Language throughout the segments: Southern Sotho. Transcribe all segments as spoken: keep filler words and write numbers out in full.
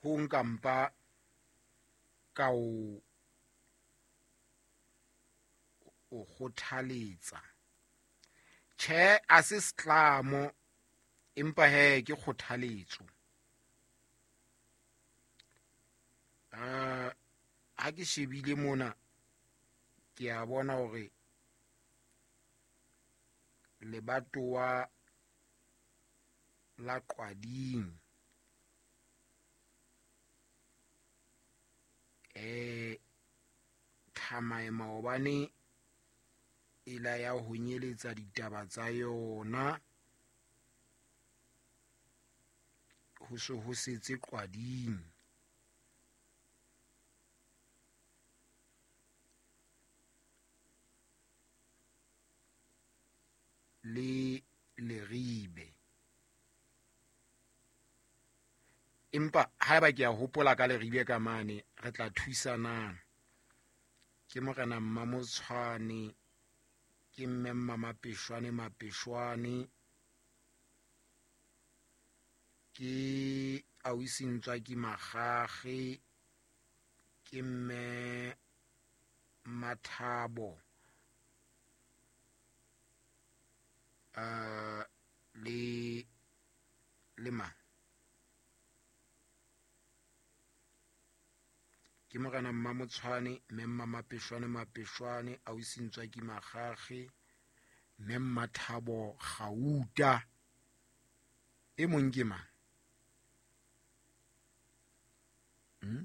Ho nka mpa ka o o kgothaletsa. Tjhe, a se setlamo, empa he ke kgothaletso. Uh, ha ke shebile mona ke a bona hore lebatowa la Qwading eh Thamae maobane e la ya ho nyeletsa ditaba tsa yona, ho se ho setse Qwading. Le Leribe. Empa haeba ke a hopola ka Leribe ka mane, re tla thusanang. Ke morena Mmamotshwane, ke mme Mmamapeshwane Mapeshwane, ke ausi Ntswaki Makgakge, ke mme Mathabo, uh, le le mang? Ke morena Mmamotshwane, mme Mmamapeshwane Mapeshwane, ausi Ntswaki Makgakge, mme Mmathabo Gauta. E mong ke mang? Hmm?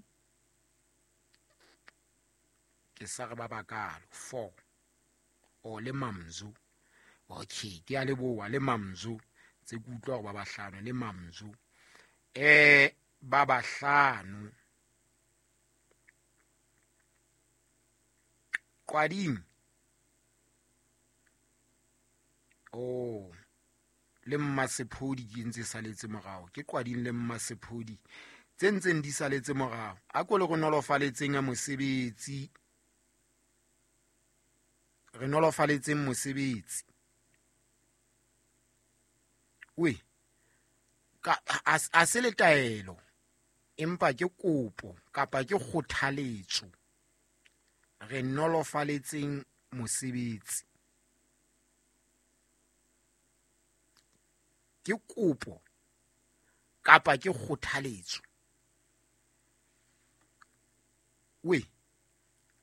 Ke sa re ba bakalo four. O le Mamzo. Okay, ke a leboha le Mamzo. Tse ke utlwa hore ba bahlano le Mamzo. Eh ba bahlano. Qwading. Oh, le Mmasephodi ke ntse saletse morao. Ke Qwading le Mmasephodi tse ntseng di saletse morao. A ko le re nolofaletseng mosebetsi. Re nolofaletseng mosebetsi. We ka a se le taelo, empa ke kopo kapa ke kgothaletso. Re nolofaletseng mosebetsi. Ke kopo kapa ke kgothaletso. We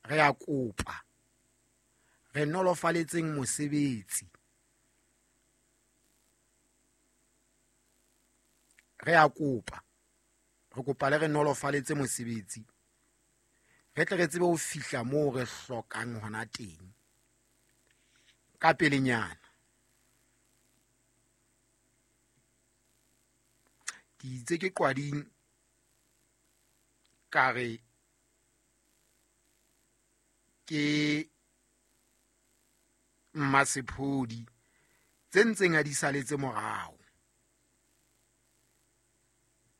re a kopa. Re nolofaletseng mosebetsi. Re a kopa. Re kopa le re nolofaletse mosebetsi. Re tle re tsebe ho fihla moo re hlokang hona teng. Ka pelenyana. Ke itse ke Qwading ka re ke Mmasephodi tse ntseng a di saletse morao.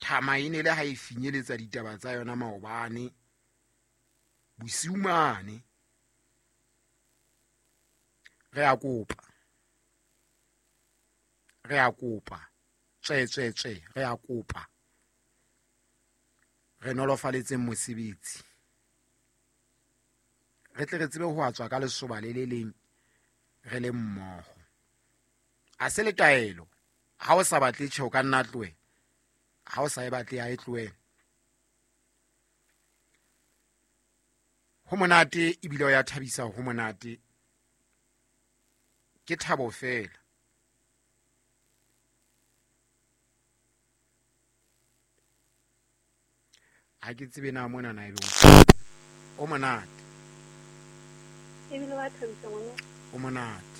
Thama e ne le ha e finyeletsa ditaba tsa yona maobane bosiu mane. Re a kopa. Re a kopa. Tswe tswe tswe re a kopa. Re nolofaletseng mosebetsi. Re tle re tsebe ho atswa ka lesoba le le leng re le mmoho. A se le taelo. Ha o sa batle tjhe o ka nna tlohe. Ha o sa e batle a e tlohe. Ho monate ebile o ya thabisa, ho monate. Ke thabo fela. Ha ke tsebe na mona na ebe o monate. Ebile wa thabisa ngwana. O monate.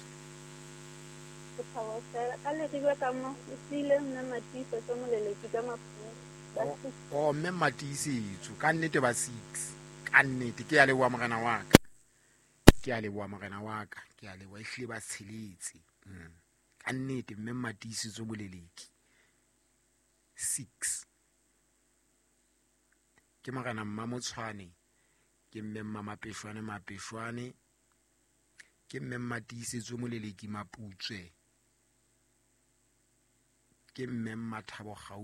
Ke thabo fela. Ka Leribe ka mo o siile mme Matiisetso Moleleki ka Maputswe. Oh, mme Matiisetso ka nnete ba six. Ka nnete ke a leboha morena wa ka. Ke a leboha morena wa ka. Ke a leboha ehlile ba tsheletse. Mm. Ka nnete mme Matiisetso Moleleki. Six. Ke morena Mmamotshwane, ke mme Mmamapeshwane Mapeshwane, ke mme Matiisetso Moleleki Maputswe, ke mme Mmathabo Gauta.